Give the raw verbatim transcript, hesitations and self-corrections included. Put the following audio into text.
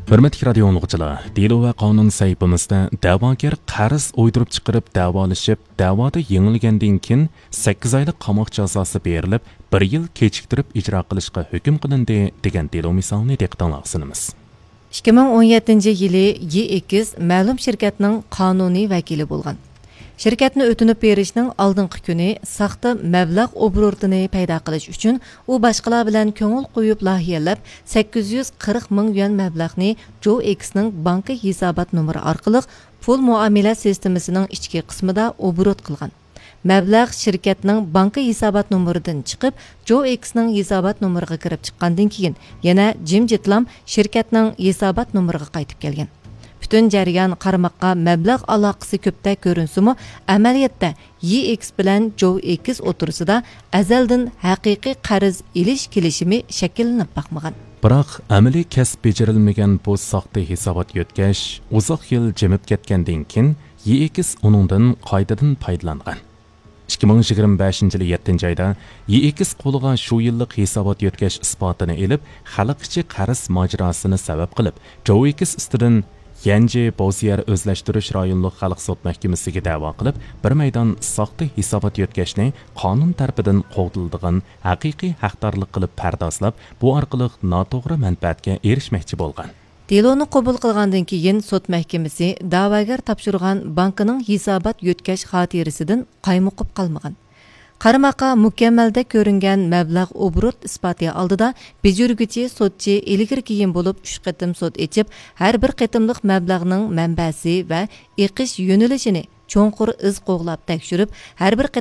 ھۆرمەتلىك رادىيو ئاڭلىغۇچىلار، دېلو ۋە قانۇن سەھىپىمىزدە دەۋاگەر قەرز ئويدۇرۇپ چىقىرىپ دەۋالىشىپ، دەۋادا يېڭىلگەندىن كېيىن سەككىز ئايلىق قاماق جازاسى بېرىلىپ، بىر يىل كېچىكتۈرۈپ ئىجرا قىلىشقا ھۆكۈم قىلىندى دېگەن دېلو مىسالىنى دىققىتىڭلارغا سۇنىمىز. ئىككى مىڭ ئون يەتتىنچى يىلى يېئېكس مەلۇم شىركەتنىڭ قانۇنىي ۋەكىلى بولغان. شىركەتنى ئۆتۈنۈپ بېرىشنىڭ ئالدىنقى كۈنى ساختا مەبلەغ ئوبوروتىنى پەيدا قىلىش ئۈچۈن ئۇ باشقىلار بىلەن كۆڭۈل قويۇپ لايىھەلەپ، سەككىز يۈز قىرىق مىڭ يۈەن مەبلەغنى جوئېكسنىڭ بانكا ھېسابات نومۇرى ئارقىلىق پۇل مۇئامىلە سىستېمىسىنىڭ ئىچكى قىسمىدا ئوبوروت قىلغان. مەبلەغ شىركەتنىڭ بانكا ھېسابات نومۇرىدىن چىقىپ، جوئېكسنىڭ ھېسابات نومۇرىغا كىرىپ چىققاندىن كېيىن، يەنە جىمجىتلام شىركەتنىڭ ھېسابات نومۇرىغا قايتىپ كەلگەن. پۈتۈن جەريان قارىماققا مەبلەغ ئالاقىسى كۆپتەك كۆرۈنسىمۇ، ئەمەلىيەتتە يېئېكس بىلەن جوئېكس ئوتتۇرىسىدا ئەزەلدىن ھەقىقىي قەرز ئېلىش كېلىشىمى شەكىللىنىپ باقمىغان. بىراق، ئەمەلىي كەسىپ بېجىرىلمىگەن بۇ ساختا ھېسابات يۆتكەش ئۇزاق يىل جىمىپ كەتكەندىن كېيىن، يېئېكس ئۇنىڭدىن قايتىدىن پايدىلانغان. ئىككى مىڭ يىگىرمە بەشىنچى يىلى يەتتىنچى ئايدا يېئېكس قولىغا شۇ يىللىق ھېسابات يۆتكەش ئىسپاتىنى ئېلىپ، خەلق ئىچى قەرز ماجىراسىنى سەۋەب قىلىپ، جوئېكس ئۈستىدىن يەنجى بوزيەر ئۆزلەشتۈرۈش رايونلۇق خەلق سوت مەھكىمىسىگە دەۋا قىلىپ، بىر مەيدان ساختا ھېسابات يۆتكەشنى قانۇن تەرىپىدىن قوغدىلىدىغان ھەقىقىي ھەقدارلىق قىلىپ پەردازلاپ، بۇ ئارقىلىق ناتوغرا مەنپەئەتكە ئېرىشمەكچى بولغان. دېلونى قوبۇل قىلغاندىن كېيىن، سوت مەھكىمىسى دەۋاگەر تاپشۇرغان بانكىنىڭ ھېسابات يۆتكەش خاتىرىسىدىن قايمۇقۇپ قالمىغان. قارىماققا مۇكەممەلدەك كۆرۈنگەن مەبلەغ ئوبوروت ئىسپاتى ئالدىدا بېجىرگۈچى سوتچى ئىلگىرى كېيىن بولۇپ ئۈچ قېتىم سوت ئېچىپ، ھەر بىر قېتىملىق مەبلەغنىڭ مەنبەسى ۋە ئېقىش يۆنىلىشىنى چوڭقۇر ئىز قوغلاپ تەكشۈرۈپ، ھەر بىر قېتىم